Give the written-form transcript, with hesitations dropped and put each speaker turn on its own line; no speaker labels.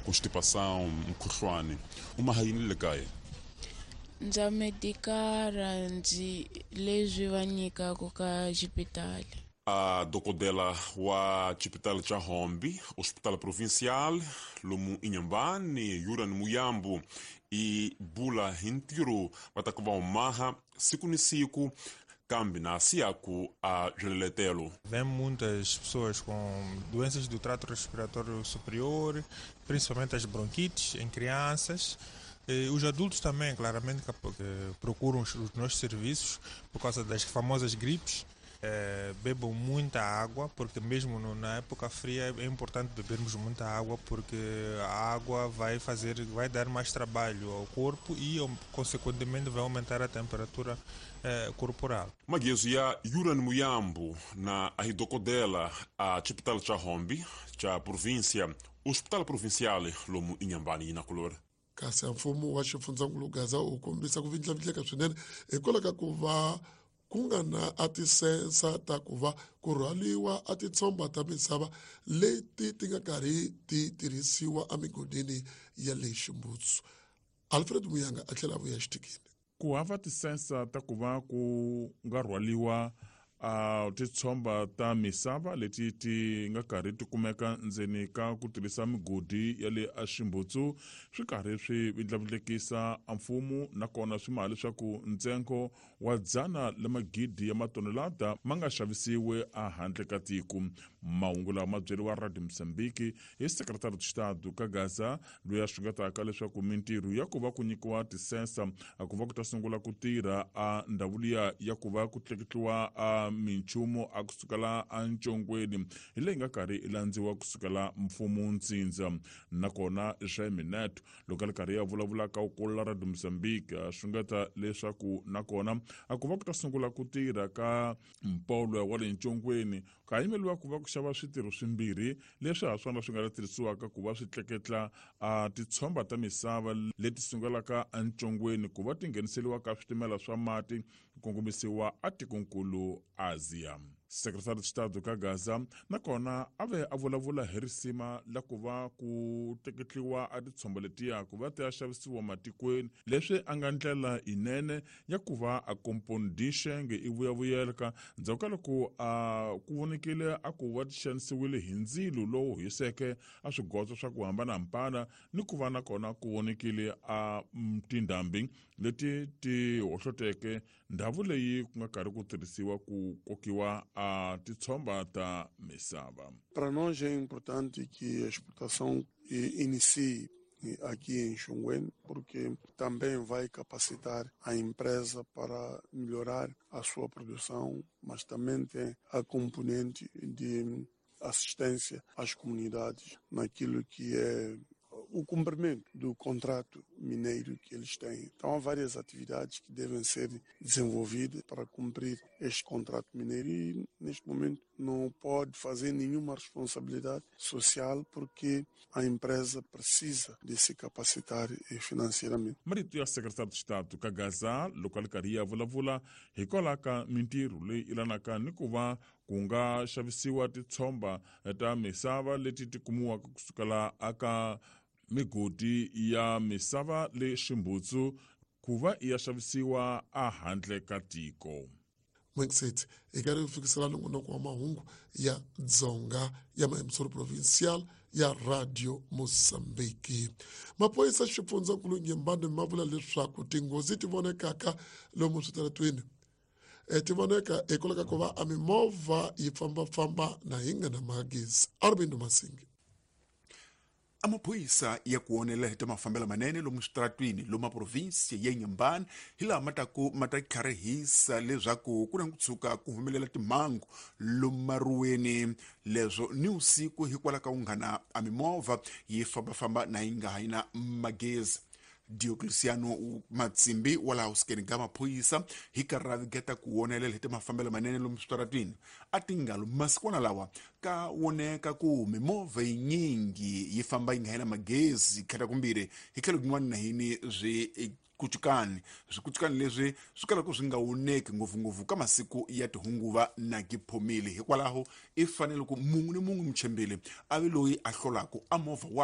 Constipação, mukhuhlwani u maha yini le kaya?
Ndza medikara ndzi leswi va nyikaka ka xipitali.
A dokodela wa xipitali xa Hombe, Hospital Provincial lomu Inhambane, Yuran Muyambo, i bula hi ntirho va ta ku va wu maha siku ni siku kambe na siyaku a byileletelo.
Vem muitas pessoas com doenças do trato respiratório superior, principalmente as bronquites em crianças. Os adultos também, claramente, que procuram os nossos serviços por causa das famosas gripes. Bebam muita água, porque mesmo na época fria é importante bebermos muita água, porque a água vai dar mais trabalho ao corpo e, consequentemente, vai aumentar a temperatura corporal.
Magezo ya Yuran Muyambo na a dokodela a xipitali xa Hombe xa província, Hospital Provincial lomu Inhambane yi na kulor.
Kasi mfumo wa xifundzankulu Gaza wu kombisa ku vindlavindleka swinene hikwalaho ka ku va ku nga na a tisensa ta ku va ku rhwaliwa a titshomba ta misava leti ti nga karhi ti tirhisiwa emigodini ya le Ximbutsu. Alfred Muyanga a tlhela a vuya xitikini.
Ku hava tisensa ta ku va ku nga rhwaliwa a titshomba ta misava leti ti nga karhi ti kumeka ndzeni ka ku tirhisa migodi ya le aximbutsu swi karhi swi vindlavindlekisa a mfumo, nakona swi maha leswaku ntsengo wa dzana la magidi ya matonelada ma nga xavisiwi ehandle ka tiko. Mahungu lawa ma byeriwa Radio Mozambique hi Secretário de Estado ka Gaza, loyi a xungetaka leswaku mintirho ya ku va ku nyikiwa tisensa a ku va ku ta sungula ku tirha a ndhawu liya ya ku va ku tleketliwa a minchumu a kusukela encongweni hi leyi nga karhi i landziwa kusukela mfumo ntsindza. Nakona Jaime Neto loko a ri karhi ya vulavula ka ukulu Radio Mozambique a xungeta leswaku nakona a ku va ku ta sungula ku tirha ka mpolo wa le ncongweni ka yimeliwa ku va ku xava switirho swimbirhi leswi ha swona swi nga ta tirhisiwaka ku va swi tleketla a titshomba ta misava leti sungulaka encongweni ku va ti ngheniseriwa ka switimela swa mati ku kongomisiwa atikonkulu Asia. Secretário de Estado ka Gaza nakona a ve a vulavula hi risima la ku va ku tleketliwa a titshomba letiya ku va ti ya xavisiwa matikweni, leswi a nga ndlela yinene ya ku va a kompondixenge i vuyavuyeleka ndzhaku ka loko a ku vonekile a ku va ti xanisiwile hi ndzilo lowu hiseke a swigotso swa ku hambanahambana, ni ku va nakona ku vonekile a tindhambi leti ti hohloteke ndhawu leyi ku nga karhi ku tirhisiwa ku kokiwa a titshomba ta misava.
Para nós é importante que a exportação inicie aqui em Xunguene, porque também vai capacitar a empresa para melhorar a sua produção, mas também tem a componente de assistência às comunidades naquilo que é o cumprimento do contrato mineiro que eles têm. Então há várias atividades que devem ser desenvolvidas para cumprir este contrato mineiro e neste momento não pode fazer nenhuma responsabilidade social porque a empresa precisa de se capacitar financeiramente.
Marito ya Secretário de Estado ka Gaza loko a ri karhi ya vulavula hikwalaho ka mintirho leyi ilanaka ni ku va ku nga xavisiwa titshomba ta misava leti ti kumiwaka kusukela aka migodi ya misava le Ximbutsu ku va ya xavisiwa ehandle ka tiko.
Mwexet hi karhi hi fikisela nongonoko wa mahungu ya Dzonga ya Maemsoro Provincial ya Radio Mozambique. Maphorisa xifundzankulu Nyembane ma vula leswaku tinghozi ti vonekaka lomu switaratweni ti voneka hikwalaho ka ku va a mimovha yi fambafamba na yi nga na magezi. Arvind Masingi.
Amaphoyisa ya ku onela hi ta mafambelo manene lomu switaratwini lomu maprovinsi ya Inhambane hi laha ma taku ma ta tlharihisa leswaku ku na ku tshuka ku humelela timhangu lomu maruweni leswo ni usiku hikwalaho ka unghana a mimovha yi fambafamba na yi nga ha yi na magezi. Diocleciano Matsimbi wa laha usikeni ka maphorisa hi karhi ra vigeta ku wonelela hi ta mafambelo manene lomu switaratwini a tingalo masikwana lawa ka woneka ku mimovha yinyingi yi famba yi nga yena magezi khata kumbirhi hi tlhelo kun'wana na hini swi kucukani swikucukani leswi swi kalaka swi nga woneki ngopfungopfu ka masiku ya tihunguva na giphomile. Hikwalaho i fanele ku munhu ni munhu muchembele a ve loyi a hlolaka a movha wa